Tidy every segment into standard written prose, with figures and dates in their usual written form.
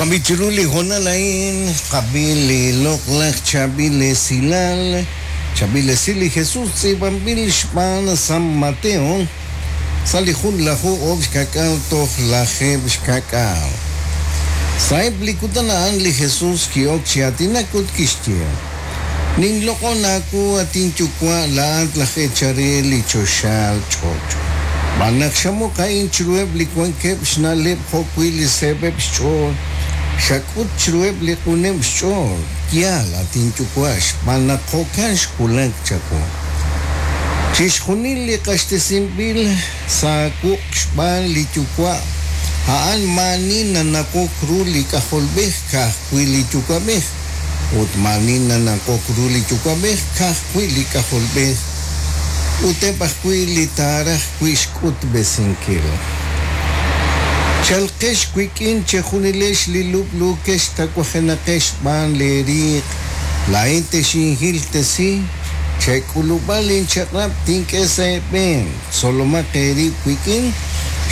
Jo'kan b'i' chiru li hoonal a'in tqab'i li loq'laj chaab'il esilal, chaab'il esil li Jesus tz'iib'anb'il xb'aan San Mateo sa' li junlaju oob' xka'k'aal toj lajeeb' xka'k'aal. Sa'eb' li kutan a'an li Jesus ki'ok chi aatinak ut kixye, Ninloq'on aawu, at inYuwa', laa'at laj eechal re li choxaal ch'och'. Xb'aan naq xamuq a'in chiruheb' li wankeb' xna'leb' jo'wi' li seeb'eb' xch'ool, xak'ut chiruheb' li q'uneb' xch'ool. Yaal, at inYuwa', xb'aan naq jo'kan xwulak chawu. Chixjunil li q'axtesinb'il sa' wuq' xb'aan li Yuwa', a'an maa'ani nanawok ru li K'ajolb'ej ka'ajwi' li Yuwa'b'ej. Ut maa'ani nanaqok ru li Yuwa'b'ej, ka'ajwi' li K'ajolb'ej, ut eb' ajwi' li taaraj wi' xk'utb'esinkil. Chalqex wik'in chejunilex li lub'luukex tawajenaqex xb'aan leeriiq, laa'in texinhiltesi, chek'ulub'a linchaq'rab' tink'e sa' eeb'een, tzolomaq eerib' wik'in,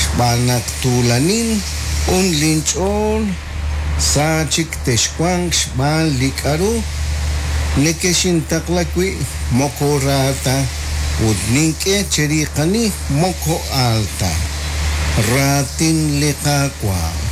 xb'aan naq tuulanin, q'un linch'ool, Sa chik texwanq xb'aan li k'aru nekexintaqla wi' moko ra ta ut nink'e cheriiqani moko aal ta. Raatin li Qaawa'.